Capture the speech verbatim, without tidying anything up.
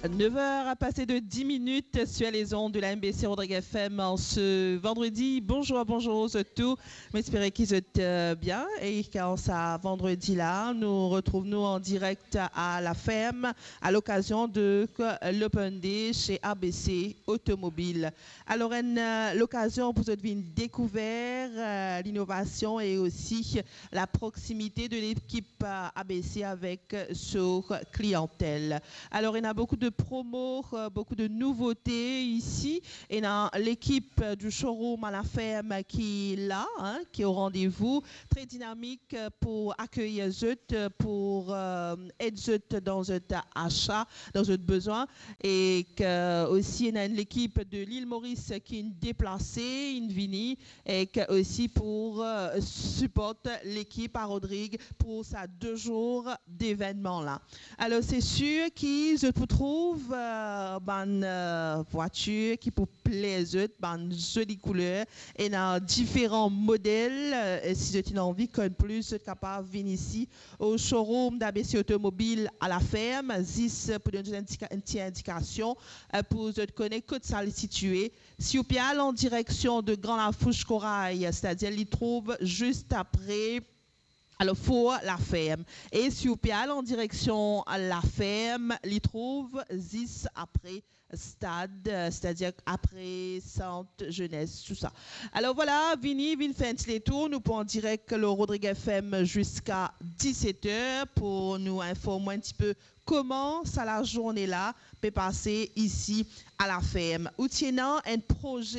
Neuf heures passées de dix minutes sur les ondes de la M B C Rodrigues F M en ce vendredi. Bonjour, bonjour à tous. J'espère que vous êtes euh, bien et qu'en ce vendredi-là, nous retrouvons en direct à la ferme à l'occasion de euh, l'Open Day chez A B C Automobile. Alors, une euh, l'occasion pour vous de venir découvrir euh, l'innovation et aussi la proximité de l'équipe euh, A B C avec euh, sa clientèle. Alors, il y a beaucoup de promos, euh, beaucoup de nouveautés ici. Il y a l'équipe euh, du showroom à la ferme qui est là, hein, qui est au rendez-vous, très dynamique euh, pour accueillir zot, euh, pour euh, aider zot dans zot achat, dans zot besoin. Et que aussi, il y a une équipe de l'île Maurice qui est déplacée, qui est venue, et que aussi pour euh, supporter l'équipe à Rodrigues pour ces deux jours d'événement-là. Alors, c'est sûr que zot pou trouv euh, bann euh, voitir ki pou plair zot, bann zoli kouleur, ena diferan model. Euh, si zot ena anvi konn plis, zot kapav vinn isi au showroom d'A B C Automobile à la ferme, zis pou donn zot enn ti, enn ti indikasion euh, pou zot kone kot sa li sitie. Si ou pe al an direksion de Grand Lafourche Corail, c'est-à-dire li trouv zis apre, alors, Fort La Ferme. E si ou pe al an direksion La Ferme, li trouv zis apre stad, euh, c'est-à-dire après Centre Jeunesse, tout ça. Alors voilà, vini, vinn fer enn ti letour, nou pou an direk lor Rodrigues F M ziska diset er pou nou inform enn ti pe kouma sa lazourne la pe pase isi à la ferme. Ou ti ena enn proze